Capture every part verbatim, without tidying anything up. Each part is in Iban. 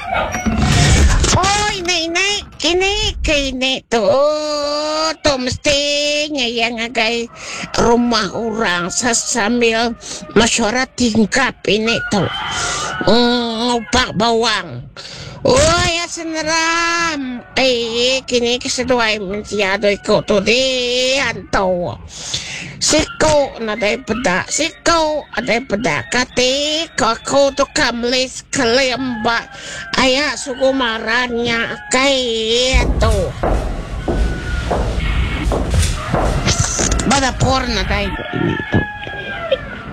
Oi ini ini kini kini tu tu mesti nya iya ngagai rumah orang sambil mesyuarat tingkap ini tu. Ngupak bawang. Oi seneram. Eh kini ke seduai mensia dua iku tu di antu. Siku nadai peda, siku adai peda kati ko aku tu ka meli sekelim ba aya sugu maran nya kai antu. Ba dapur nadai ko ini tu.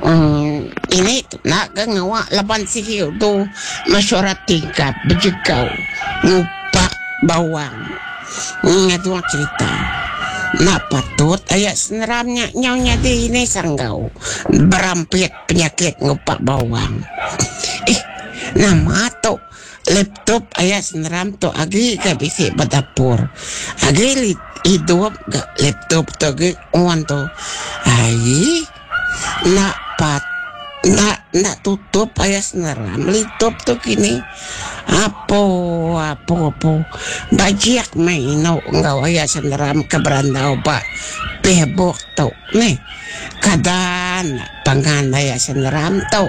Uhh ini tu enda ga ngawa laban sigi udu mesyuarat tingkap bejegau ngupak bawang ngadung cerita. Enda patut aya seneram nya nyau nyadi ini sanggau berampit penyakit ngupak bawang. Eh nama tu laptop aya seneram tu agi ga bisi ba dapur. Agi idup ga laptop tu agi on tu. Aii. Enda pat enda enda tutup aya seneram litup tu kini. Apo apo apo bajik meh inu enggau aya seneram ke berandau ba Facebook tu neh. Kada enda pangan aya seneram tu.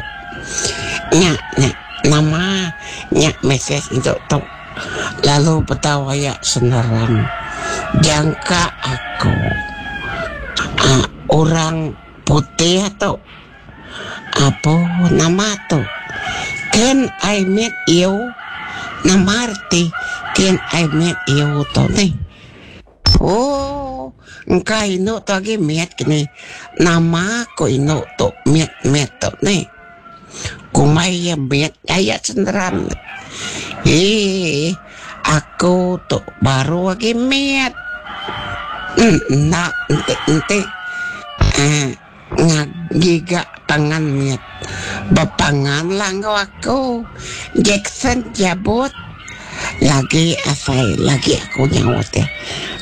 Nya nya nama nya mesej indu tu lalu bedau aya seneram jangka aku aaa orang putih tu apo nama tu can I meet you nama reti can I meet you tu neh ooh engka indu tu agi mit kini nama ku indu tu mit mit tu neh kumbai iya mit aya senderan eee aku tu baru agi mit enda enti enti uhh ngiga pangan mit bepangan lah enggau aku Jackson Jabut lagi asai lagi aku nyaut iya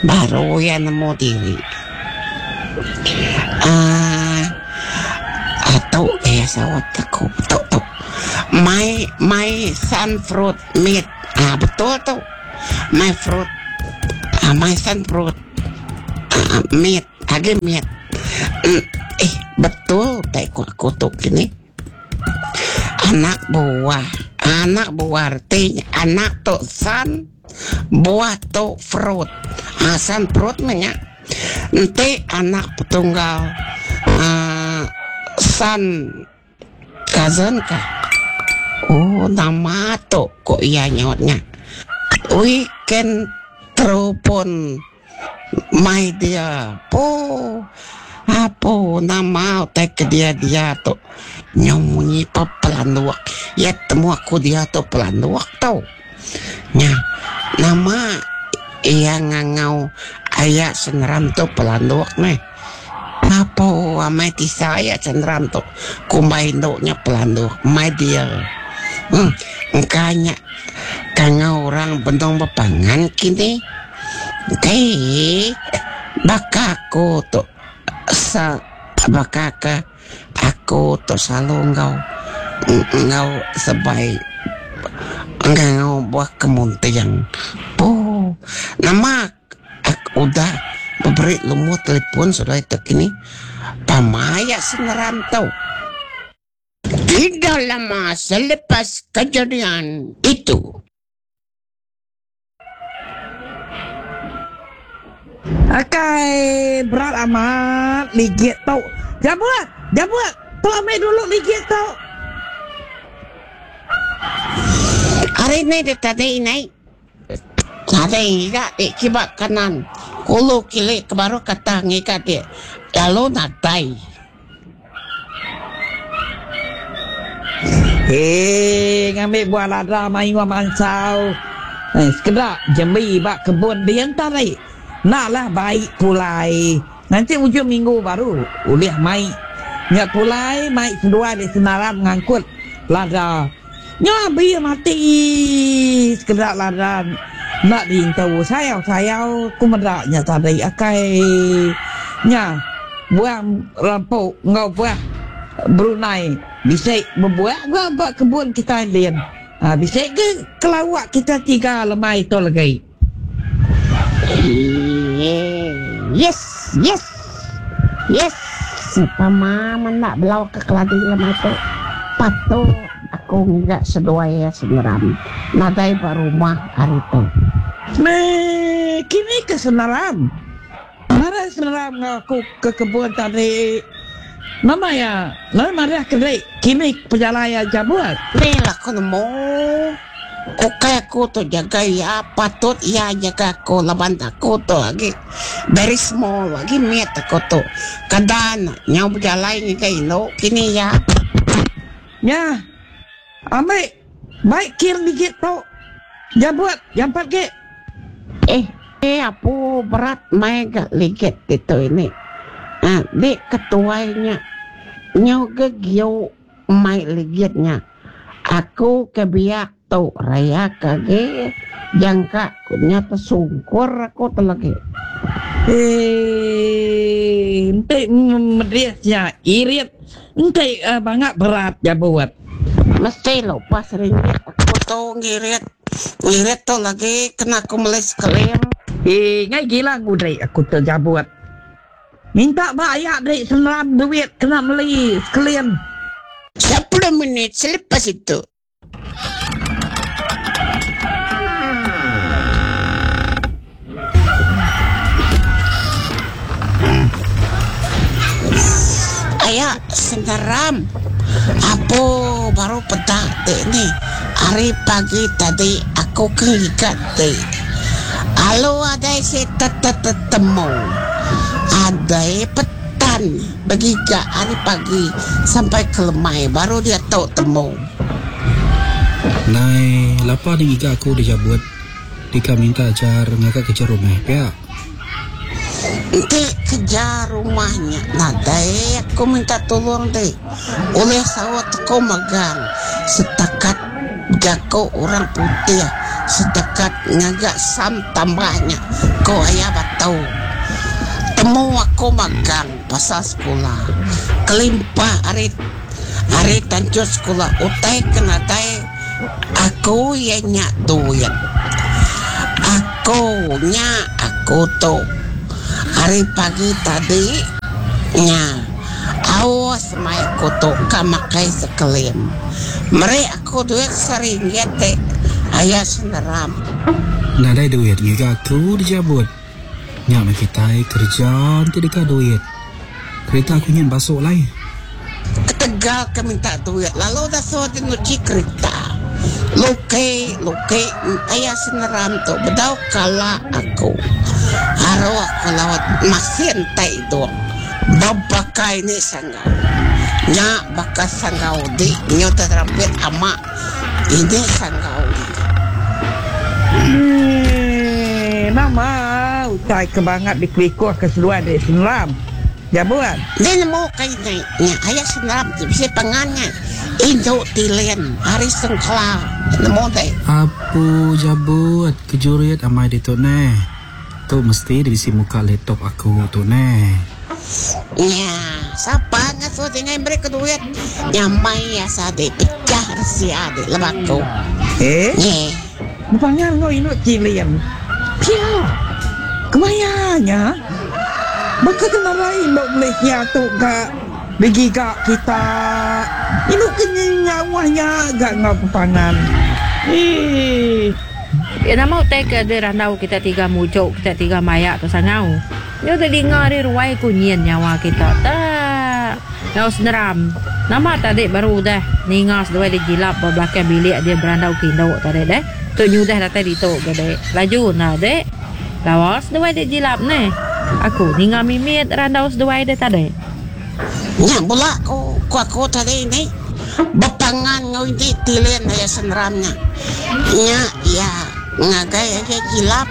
baru iya nemu diri uhh tu iya saut aku tu tu my my son fruit meat uhh betul tu my fruit uhh my son fruit uhh meat agi meat eh betul utai ku aku tu kini anak buah anak buah reti anak tu son buah tu fruit uhh son fruit meh nya enti anak petunggal uhh son Cousin ka. Oh nama tu ku iya nyaut nya. We can teropon my dear. Pooh apo nama utai ke dia dia tu. Nyau munyi pa pelanduk. Iya temu aku dia tu pelanduk tu. Nya nama iya ngangau aya seneram tu pelanduk meh. Apo amai tisa iya Chandran tu kumbai indu nya pelanduk my dear. Em engka nya kangau orang benung bepangan kini. Dei baka aku tu sa baka ke aku tu selalu enggau enggau sebai enggau buah kemunting. Pooh nama Aku udah beberi lumur telefon seduai tu kini pama iya seneran tu. Tidak lama selepas kejadian itu. Akai berat amat ligit tu. Jabut! Jabut! Tu ambi dulu ligit tu. Ari ni deh tadi nai. Nadai ngiga ti kiba kanan, kulu kili ke baruh kata ngiga ti lalu nadai. Hee ngambi buah lada mayuh mansau eh sekeda jembi ba kebun din tadi enda lah bai pulai nganti ujung minggu baru ulih mai nya pulai mai seduai di senaram ngangkut lada. Nya abi mati sekeda ladan enda diintu sayau-sayau ku meda nya tadi akai nya buah rampu enggau buah Brunei bisi bebuah ga ba kebun kitai din Ha, bisa ke kelawak kita tiga lemai tu lagi. Yes, yes. Yes. Pama nak belau ke keladi lemai tu. Patut aku ngiga seduai ya seneram. Nadai ba rumah hari tu. Me, kini ke seneram. Mara seneram aku ke kebun tadi. Nama ya, lalu marah kedai kini perjalanan jabut. Ni lah aku nemu. Oke aku tu jaga ya, patut ya jaga aku laban aku tu lagi very small lagi miat aku tu. Kadan nyau berjalan ni ke ino kini ya. Ya. Ambil baik kir dikit tu. Jabut jampat ke. Eh, eh apa berat mai gak ligit itu ini. Ah, dek ketuanya nyau ke gio mai ligitnya. Aku kebiak tu raya kage jangka kunya tersungkur aku tu lagi. Eh, ente medesnya irit, ente uh, bangat berat ya buat. Mesti lupa seringnya aku tu ngirit, ngirit tu lagi kena aku melis kelim. Eh, ngai gila ngudai aku terjabut. Minta bayar dek seneram duit kena beli sekalian. Sepuluh minit selepas itu. Ayah seneram. Apa baru petak dek ni. Hari pagi tadi aku keikat dek. Alo ada si tetemu. Ada petan bagi hari pagi sampai ke lemai baru dia tahu temu. Nai lapa ni iga aku dijabut. Dika minta ajar ngakak kejar rumah pia. Nanti kejar rumahnya. Nadai aku minta tolong deh. Oleh sawat aku magang setakat jako orang putih setakat ngagak sam tambahnya ko ayah batau. Temu aku magang pasal sekolah. Kelimpah hari hari tanjut sekolah utai kena tai aku ya nyak duit. Aku nyak aku tu hari pagi tadi nya awas mai aku tu kamakai sekelim. Mereka aku duit seringgit te ayah seneram. Nadai duit ngiga aku dijabut. Nyak nak kita kerja nanti dekat duit. Kereta aku nyen basuk lai. Ketegal ke minta duit lalu dah suruh dia nyuci kereta. Luke, luke, ayah seneram tu bedau kala aku. Haro aku lawat masin tai dong. Babakai ni sanggau. Nyak bakas sanggau di nyo terampit ama. Ini sanggau. Hmm, nama utai kebangat di kelikuh ke seluar di seneram. Jabuan. Dia nemu kai ni. Nyak ayah seneram tu bisa pangannya. Induk tilen hari sengkla nemu deh. Apu jabut kejurit amai di tu neh. Tu mesti di bisi muka laptop aku tu neh. Ya, siapa ngasuh dengan mereka duit? Nyamai ya sade pecah rahasia de lebako. Eh? Nye. Bukannya ngau induk tilen. Pia. Kemayanya? Baka kena lain dok Malaysia tu gak bagi gak kita. Induk kenyawahnya gak ngau pepangan. Eh. Ya nama utai ke ada randau kita tiga mujuk, kita tiga mayak tu sangau. Nyo terdengar dari ruai kunyin nyawa kita. Tak. Ngau seneram. Nama tadi baru dah ningas dua di jilap ba belakang bilik dia berandau kindok tadi deh. Tu nyudah datang di tu gede. Laju nah dek. Lawas dua di jilap ne. Aku ninga mimit randau seduai dia tadi. Nya bola aku ku aku tadi ni. Bepangan ngau ini tilen ya seneramnya. Nya ya ngagai ayah jilap.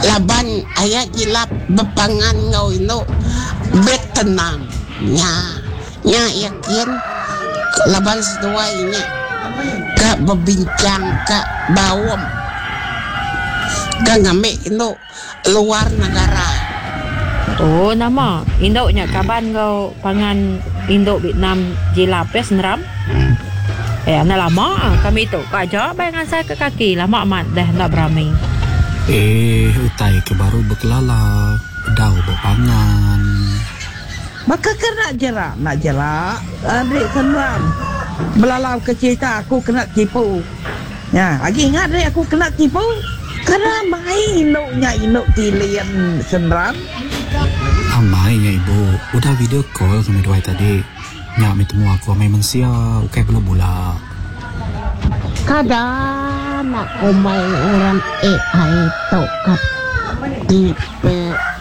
Laban ayah jilap bepangan ngau ino bet tenang. Nya nya yakin laban seduai nya ka berbincang ka bawam ka ngambil ino luar negara. Oh nama induknya kaban kau pangan induk Vietnam jilap ya seneram. Eh, anak lama kami tu. Kak aja bayang ngansai ke kaki. Lama amat dah nak berami. Eh, utai ke baru bekelala. Bedau bepangan. Maka ke nak jerak, nak jerak. Adik senang. Belalau ke cerita aku kena tipu. Ya, lagi ingat dek aku kena tipu. Kena main induknya induk tilian senram. Amainya ibu, udah video call kami dua tadi. Nyak mi temu aku amai mensia, ukai bula-bula. Kadang aku main orang A I tokat tipe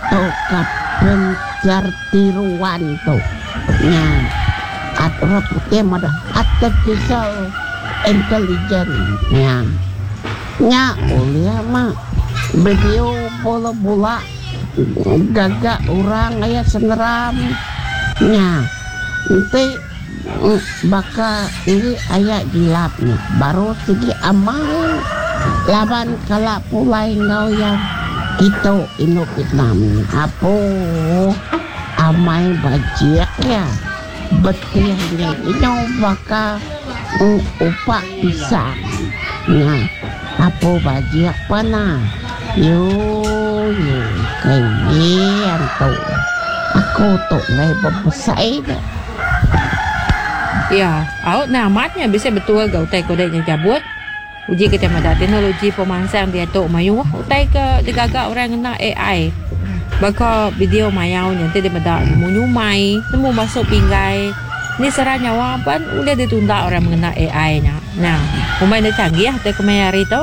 tokat pencar tiruan tu. Nya, at putih mada artificial intelligence. Nya, nya ulia mah video bola-bola gagak orang ayah seneram. Nya, nanti baka ini ayah gilapnya baru segi amai laban kalak pulai ngau yang itu induk Vietnam apo amai bajik ya betilnya ini baka upak pisang nya apo bajik pana yo yo kayak tu aku tu ngai berbesai dah. Ya, out nah amatnya bisa betul gak utai kodeknya cabut. Uji kita mada teknologi pemansang dia tu mayu utai ke digagak orang kena A I. Baka video mayau nanti dia mada nemu nyumai, nemu masuk pinggai. Ni serah nyawa pan udah ditunda orang mengena A I nya. Nah, pemain dia canggih atau kemaya hari tu.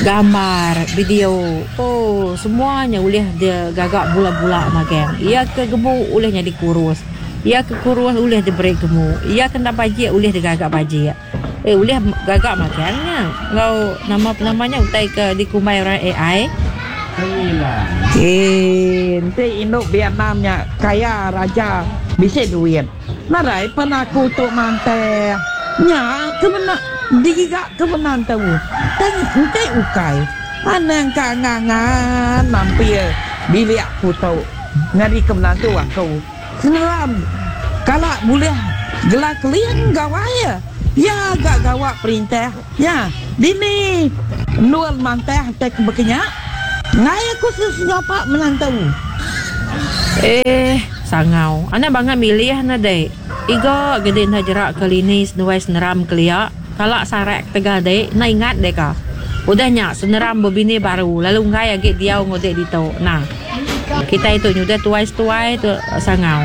Gambar, video, oh semuanya boleh dia gagak bula-bula magang. Ia ke gemuk bolehnya dikurus. Ia ke kurus boleh diberi gemuk. Ia kena bajik boleh digagak bajik. Eh boleh gagak makangnya. Ngau nama namanya utai ke dikumai orang A I. Eh, nanti induk Vietnamnya kaya raja bisa duit. Narai pernah aku tu mantai. Nya ke mana digigak ke mana tahu. Dan nanti ukai. Anang kangangan mampir bilik aku tahu. Ngari ke mana tu aku. Seneram kalau boleh gelar kalian gawai ya. Ya gak gawak perintah. Ya, dini nual mantah tek berkenyak. Ngai aku sesenyapak menantu. Eh, sangau. Anak bangat milih na dek. Iga gede na jerak kali ni senuai seneram kelia. Kalak sarek tegah dek, na ingat dek ka. Udah nyak seneram berbini baru. Lalu ngai agak diau ngodek dito. Nah, kita itu nyudah tuai-tuai tu sangau.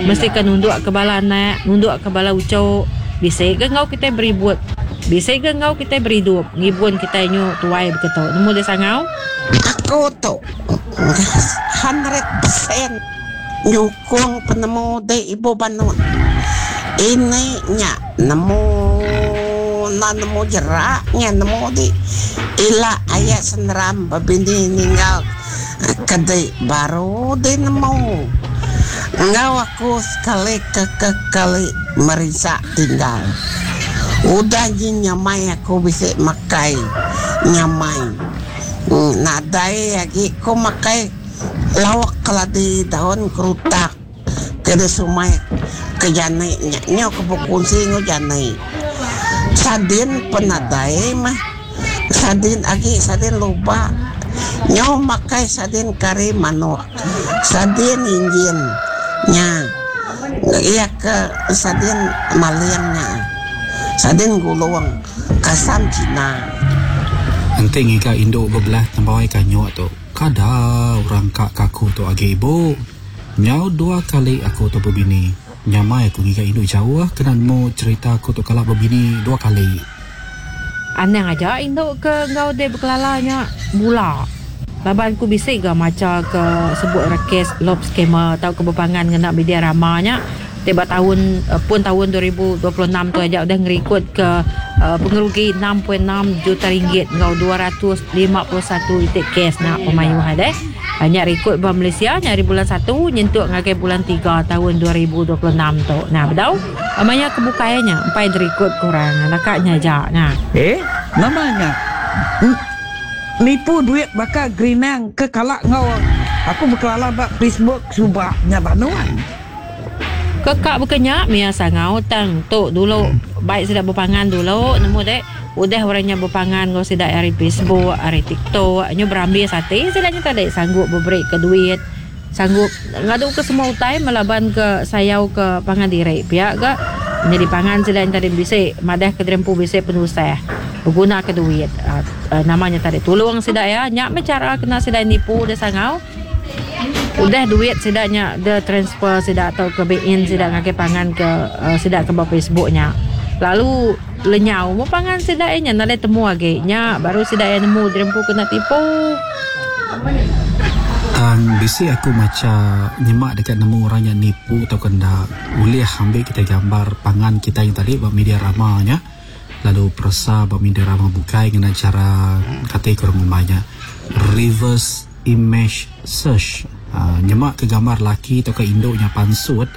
Mesti ke nunduk ke bala anak, nunduk ke bala ucok. Bisa ke ngau kita beribut. Bisa ke ngau kita beridup. Ngibun kita nyu tuai begitu. Nemu dia sangau? Aku tu hundred percent nyukung penemu de ibu banun. Ini nya nemu na nemu jeraknya nemu di ila ayah seneram babini ninggal kedai baru de nemu. Ngau aku sekali ke ke kali merisa tinggal. Udah nyamai aku bisa makai nyamai. Nadai lagi ku makai lawak keladi daun kerutak ke sumai ke jane nya ke berkongsi ngau jane. Sadin penadai mah sadin agi sadin lupa nyo makai sadin kari manuk sadin injin nya iya ke sadin maliangnya sadin gulung kasam Cina. Nanti ngika induk berbelah tembawai kanyuk tu. Kada orang kak kaku tu agi ibu. Nyau dua kali aku tu berbini. Nyamai aku ngika induk jauh kena mu cerita aku tu kalak berbini dua kali. Aneh aja induk ke ngau de berkelalanya bula. Laban aku bisik ga maca ke sebut rekes lob skema atau kebepangan ngena media ramanya. Tiba tahun pun tahun dua ribu dua puluh enam tu aja udah ngerikut ke uh, pengerugi enam perpuluhan enam juta ringgit ngau dua ratus lima puluh satu itik kes nak pemayuh ada. Banyak rekod ba Malaysia nyari bulan satu nyentuk ngagai bulan tiga tahun dua ribu dua puluh enam tu. Nah, bedau amanya kebukainya empai rekod kurang nakaknya aja. Nah. Eh, namanya nipu duit bakal gerinang ke kalak ngau. Aku berkelala bak Facebook subaknya banuan. Kekak bekenya mia sangau tang tu dulu baik sida bepangan dulu nemu dek udah orangnya bepangan ngau sida ari Facebook, ari TikTok nyu berambis ati sida nya tadi sanggup beberi ke duit, sanggup ngadu ke semua utai melaban ke sayau ke pangan diri pia ga nyadi pangan sida nya tadi bisi madah ke dirempu bisi penusah beguna ke duit uh, uh, namanya tadi tolong sida ya nya meh cara kena sida nipu de sangau. Udah duit sidaknya de transfer sidak atau ke bin sidak ngagai pangan ke uh, sidak ke ba Facebooknya. Lalu lenyau mo pangan sidak nya nadai temu agi nya baru sidak yang nemu dirempu kena tipu. Tang bisi aku maca nyemak dekat nemu orang yang nipu atau kena boleh ambil kita gambar pangan kita yang tadi ba media ramanya lalu peresa ba media rama bukai dengan cara kata kurang umumnya reverse image search. Uh, nyemak ke gambar laki atau ke induknya pansut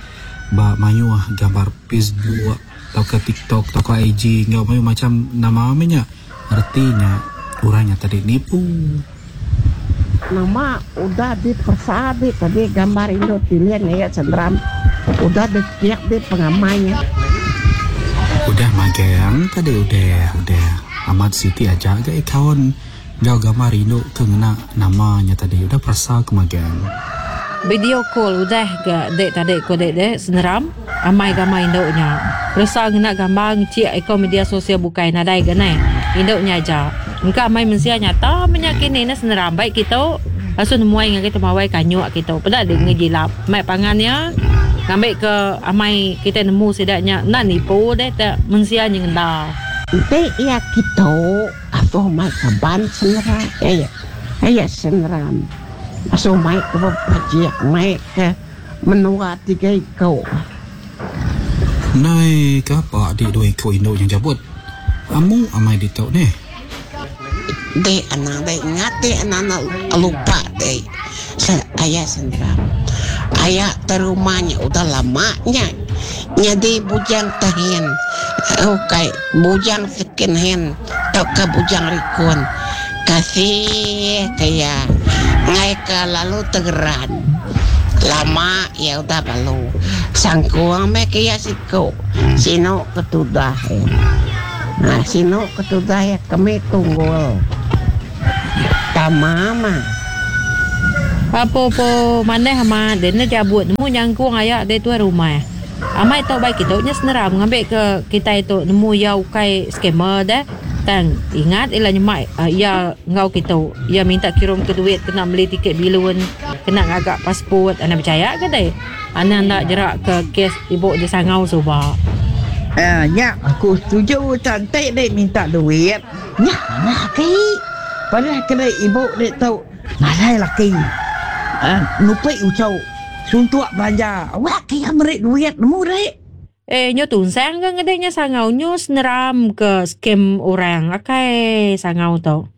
ba mayuh gambar Facebook atau ke TikTok atau ke I G ngau mayu macam nama amenya artinya orangnya tadi nipu. Nama udah dipersabi tadi gambar induk pilihan ya sendram udah ditiak di pengamainya. Udah magang tadi udah udah amat Siti aja ke kawan gau gambar induk ke ngena namanya tadi udah perasa ke magang. Video call udah ke dek tadi ko dek dek seneram amai gambar induknya. Perasa ngena gambar ngecik eko media sosial bukai nadai ke neh. Induknya aja. Engka amai mensia nyata menyakini ne seneram baik kita langsung nemuai dengan kita mawai kanyuk kita. Peda dek ngejilap mai pangannya ngambil ke amai kita nemu sidaknya nak nipu dek tak mensia nyenda. Ente ya kita atau mai kaban senera ya ya seneram. Aso mai ke bajik mai ke menua tiga iko. Nai ke apa adik dua iko induk yang jabut? Amu amai ditok ni. Dek anak dek ingat dek anak lupa dek. Ayah seneram. Ayah terumahnya udah lamanya. Jadi bujang tahin. Oke, bujang second hand atau ke bujang rikun. Kasih kayak ngai ke lalu tegeran. Lama ya udah lalu. Sangkuang me kaya siko. Sino ketudah ya. Nah, sino ketudah ya kami tunggul. Tamama. Apa po maneh ama dene jabut nemu nyangkung ayak de tuan rumah. Amai tau baik kita nya seneram ngambil ke kita itu nemu ya ukai scammer dah. Tang ingat ila nyemak uh, ya ngau kita ya minta kirim ke duit kena beli tiket bilun kena ngagak pasport ana percaya ke deh. Ana nak jerak ke kes ibu di sangau suba. Eh nya aku setuju cantik dek minta duit. Nya nak ke. Padahal kena ibu dek tau nadai laki. Ah, nupi ucau suntuk belanja. Awak kaya merik duit nemu dek. Eh, nyo tunsang ke ngedeknya sangau nyo seneram ke scam orang. Akai sangau tau.